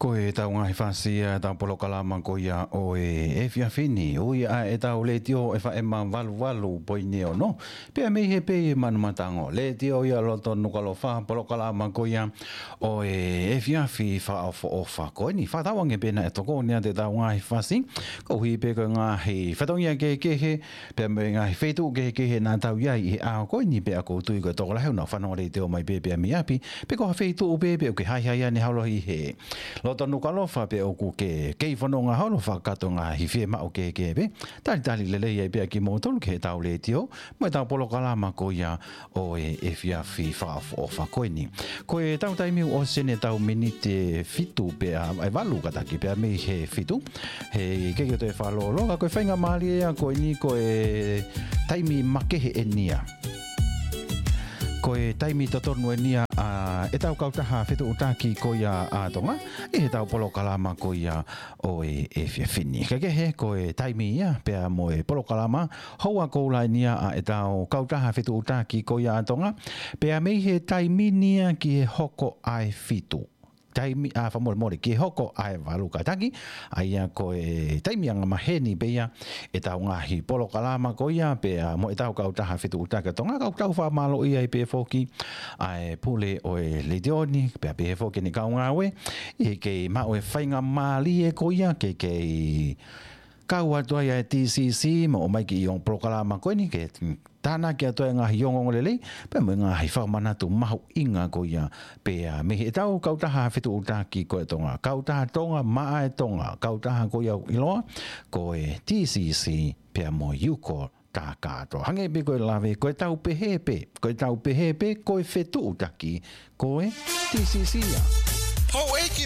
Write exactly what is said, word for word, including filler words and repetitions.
Ko e tau ngaahi fasi ʻa e tau polokalama ko ia ʻo e efiafi ni. Ui ʻa e tau letiō ʻe FM valu valu poini ono. Pea mei he pē ʻi Manumatango. Letiō ia loto Nukuʻalofa, polokalama ko ia ʻo e efiafi fakaʻofoʻofa ko eni. Fakatau ange pē naʻe tokoni ʻa e tau ngaahi fasi. Koeʻuhi pē ko e ngaahi fatongia kehekehe, pea mo e ngaahi feituʻu kehekehe naʻa tau ʻi ai ʻi he ʻaho ko eni pea ʻoku ou tui ko e tokolahi ʻoku nau fanongo letiō mai pē pea mei ʻapi, pe ko ha feituʻu pē pea ʻoku ke haʻihaʻi ʻaneholo ʻi he loto Nukuʻalofa pea ʻoku ke kei fononga holo fakatokangaʻi fiemaʻu kehekehe pē. Talitali lelei ai pea kimoutolu ki he tau letiō, mo e tau polokalama ko ia ʻo e efiafi fakaʻofoʻofa ko eni. Ko e tau taimi ʻosi ʻeni e tau miniti ʻe fitu pea, ʻe valu kātaki pea mei he fitu. He ʻikai ke toe fakalōloa, ka ko e faingamālie ia ko eni ko e taimi makehe ʻeni ia. Ko e taimi totonu ʻeni ia ʻa e tau kautaha fetuʻutaki ko ia ʻa Tonga, ʻi he tau polokalama ko ia ʻo e efiafi ni. Ka kehe ko e taimi ia, pea mo e polokalama, houa koula ʻeni ia ʻa e tau kautaha fetuʻutaki ko ia ʻa Tonga, pea mei he taimi ni ia ki he hoko ʻa e fitu. Taimi, ʻa, fakamolemole, ki he hoko ʻa e valu kātaki, ʻa ia ko e taimi angamaheni pē ia, e tau ngaahi polokalama ko ia, pea mo e tau kautaha fetuʻutaki ʻa Tonga, ka ʻoku tau fakamālōʻia ai pē foki, ʻa e pule ʻo e letiō ni, pea pehē foki ʻene kau ngāue, ʻi he kei maʻu e faingamālie ko ia, ke kei kau atu ai ʻa e TCC, mo ʻomai ki he ongo polokalama ko eni, ke tānaki atu ai ngaahi ongoongo lelei, pea mo e ngaahi fakamanatu mahuʻinga ko ia, pea mei he tau kautaha fetuʻutaki ko e Tonga, kautaha Tonga, maʻa e Tonga, kautaha ko ia ʻoku ʻiloa, ko e TCC, pea mo e Uko Takatoa. Hangē pē ko e lave, ko e tau pehē pē, ko e tau pehē pē, ko e fetuʻutaki, ko e TCC ia. Houʻeiki